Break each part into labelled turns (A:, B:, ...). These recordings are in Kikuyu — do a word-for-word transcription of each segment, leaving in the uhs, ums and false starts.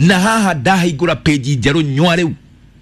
A: Na haha ndahingũra page njerũ nywa rĩu.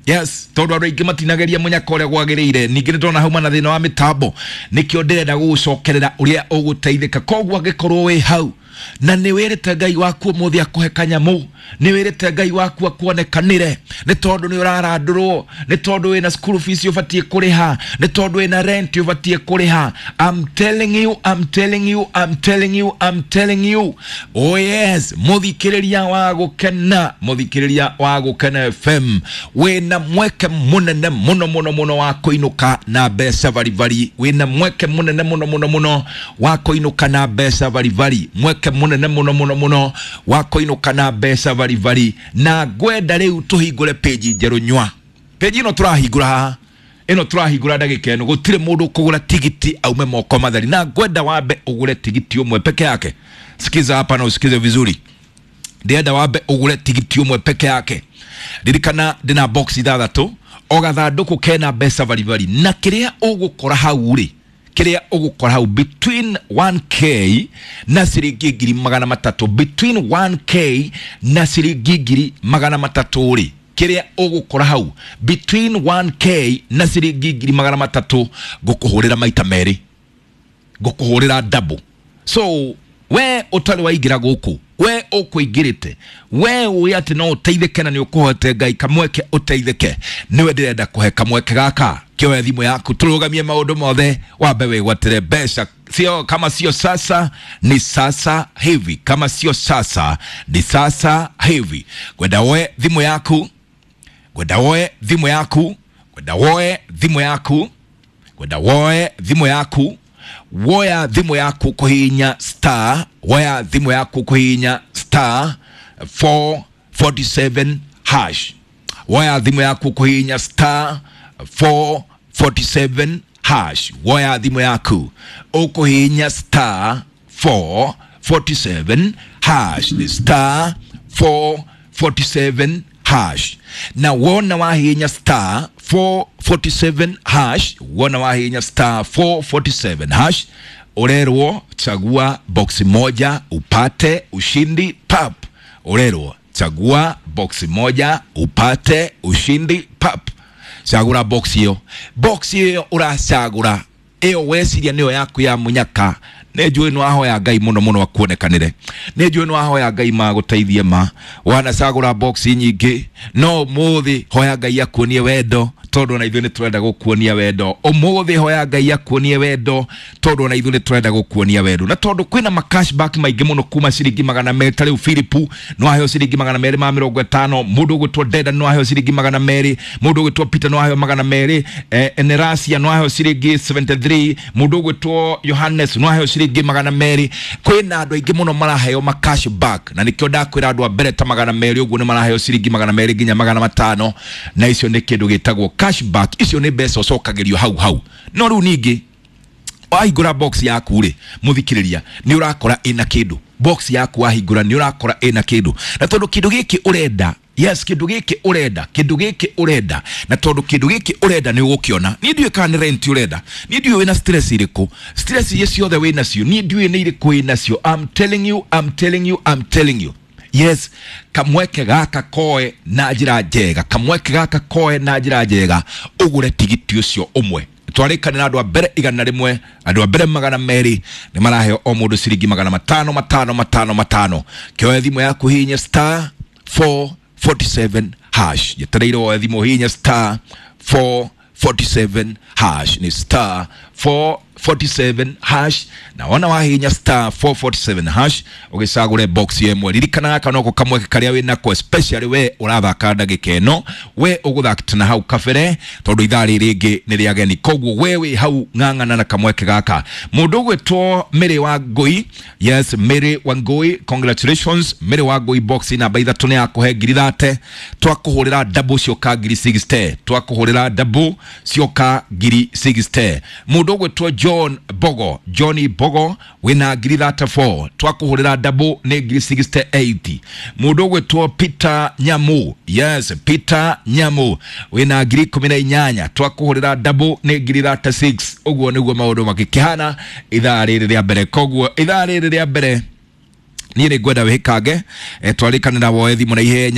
A: Yes, tondũ andũ aingĩ matinageria mũnyaka ũrĩa gwagĩrĩire. Ningĩ nĩndona hauma na thĩna wa mĩtambo, nĩkĩo ndĩrenda gũgũcokerera ũrĩa ũgũteithĩka. Koguo angĩkorwo wĩ hau na nĩ wĩrĩte Ngai waku ũmũthĩ akũhe kanyamũ, nĩ wĩrĩte Ngai waku akuonekanĩre, nĩ tondũ nĩ ũrarandũrwo, nĩ tondũ wĩna school fees ũbatiĩ kũrĩha, nĩ tondũ wĩna rent ũbatiĩ kũrĩha, I'm telling you, I'm telling you, I'm telling you, I'm telling you, oh yes, mũthikĩrĩria wa gũkena, mũthikĩrĩria wa Gũkena F M, wĩna mweke mũnene mũno mũno mũno wa kũinũka na mbeca baribari. Wĩna mweke mũnene mũno mũno mũno wa kũinũka na mbeca baribari, mweke mũnene mũno mũno mũno wa kũinũka na mbeca baribari. Na ngwenda rĩu tũhingũre page njerũ nywa. Page ĩno tũrahingũra haha, ĩno tũrahingũra ndagĩka ĩno, gũtirĩ mũndũ ũkũgũra tigiti aume moko matheri, na ngwenda wambe ũgũre tigiti ũmwe peke yake. Sikiza hapa na usikize vizuri. Ndĩrenda wambe ũgũre tigiti ũmwe peke yake. Ririkana ndĩna box ithathatũ, o gathandũkũ kena mbeca baribari, na kĩrĩa ũgũkora hau rĩ, kĩrĩa ũgũkora hau between one k na ciringi ngiri magana matatũ, between one k na ciringi ngiri magana matatũ rĩ, kĩrĩa ũgũkora hau between one k na ciringi ngiri magana matatũ, ngũkũhũrĩra maita merĩ, ngũkũhũrĩra double. So we ũtarĩ waingĩra gũkũ, we ũkũingĩrĩte, we ũĩ atĩ no ũteithĩke na nĩ ũkũhote Ngai kamweke ũteithĩke, nĩwe ndĩrenda kũhe kamweke gaka. Kĩoe thimũ yaku, tũrũgamie maũndũ mothe, wambe wĩgwatĩre mbeca. Sio kama sio sasa ni sasa hivi, kama sio sasa ni sasa hivi. Ngwenda woe thimũ yaku, ngwenda woe thimũ yaku, ngwenda woe thimũ yaku, ngwenda woe thimũ yaku. Woya thimũ yaku kũhihinya star, woya thimũ yaku kũhihinya star four forty-seven hash. Woya thimũ yaku kũhihinya star four forty-seven hash. Woya thimũ yaku ũkũhihinya star four forty-seven hash, ni star four forty-seven hash. Na wona wahihinya star four forty-seven hash, wona wahihinya star four forty-seven hash, urerwo chagua box moja upate ushindi pap. Urerwo chagua box moja upate ushindi pap. Cagũra box ĩyo, box ĩyo ũracagũra ĩyo weciria nĩyo yaku ya mũnyaka. Nĩ njũĩ nĩ wahoya Ngai mũno mũno akuonekanĩre, nĩ njũĩ nĩ wahoya Ngai magũteithie ma wanacagũra box nyingĩ, no ũmũthĩ hoya Ngai akuonie wendo, tondũ ona ithuĩ nĩ tũrenda gũkuonia wendo. Ũmũthĩ hoya Ngai akuonie wendo, tondũ ona ithuĩ nĩ tũrenda gũkuonia wendo. Na tondũ kwĩna ma cashback maingĩ mũno kuma ciringi magana merĩ, ta rĩu Philip no aheo ciringi magana merĩ ma mĩrongo ĩtano, mũndũ ũgwĩtwo Deda no aheo ciringi magana merĩ, mũndũ ũgwĩtwo Peter no aheo magana merĩ, eh, Enerasia no aheo ciringi seventy-three, mũndũ ũgwĩtwo Johannes no aheo ciringi magana merĩ. Kwĩna andũ aingĩ mũno maraheo ma cashback, na nĩkĩo ndakwĩra andũ a mbere ta magana merĩ ũguo nĩ maraheo ciringi magana merĩ nginya magana matano, na icio nĩ kĩndũ gĩtagwo cashback. Icio nĩ mbeca ũcokagĩrio hau hau. No rĩu ningĩ wahingũra box yaku rĩ, mũthikĩrĩria, nĩ ũrakora ĩna kĩndũ. Box yaku wahingũra nĩ ũrakora ĩna kĩndũ, na tondũ kĩndũ gĩkĩ ũrenda, yes, kĩndũ gĩkĩ ũrenda, kĩndũ gĩkĩ ũrenda, na tondũ kĩndũ gĩkĩ ũrenda nĩ ũgũkĩona. Niĩ ndiũĩ kana nĩ rent ũrenda, niĩ ndiũĩ wĩna stress irĩkũ, stress iria ciothe wĩnacio, niĩ ndiũĩ nĩ irĩkũ wĩnacio. I'm telling you, I'm telling you, I'm telling you, yes, kamweke gaka koe na njĩra njega, kamweke gaka koe na njĩra njega, ũgũre tigiti ũcio ũmwe. Twarĩkanĩra andũ a mbere igana rĩmwe, andũ a mbere magana merĩ nĩ maraheo o mũndũ ciringi magana matano matano matano matano. Kĩoe thimũ yaku, hihinya star four forty-seven hash. Njetereire woe thimũ, hihinya star four forty-seven hash, ni star four forty-seven hash. Na wona wahihinya star four forty-seven hash, ũgĩcagũre box ĩmwe. Ririkana gaka noko kamweke karĩa wĩnako, especially we ũrathaka ndagĩka ĩno, we ũgũthakĩte na hau kabere, tondũ ithaa rĩrĩ rĩngĩ nĩ rĩa ageni. Koguo we wĩ hau, ng'ang'ana na kamweke gaka. Mũndũ ũgwĩtwo Mary wa Ngũi, yes, Mary wa Ngũi, congratulations, Mary wa Ngũi. Box namba ithatũ nĩ yakũhe ngiri thate, twakũhũrĩra double cioka ngiri sixty, twakũhũrĩra double cioka ngiri sixty. Mũndũ ũgwĩtwo John Bogo, Johnny Bogo, wĩna ngiri thirty-four, twakũhũrĩra double nĩ ngiri sixty-eight. Mũndũ ũgwĩtwo Peter Nyamu, yes, Peter Nyamu, wĩna ngiri ikũmi na inyanya, twakũhũrĩra double nĩ ngiri thirty-six. Ũguo nĩguo maũndũ makĩkĩhana ithaa rĩrĩ rĩa mbere. Koguo ithaa rĩrĩ rĩa mbere niĩ nĩ ngwenda wĩhĩkange, eh, twarĩkanĩra woe thimũ na ihenya.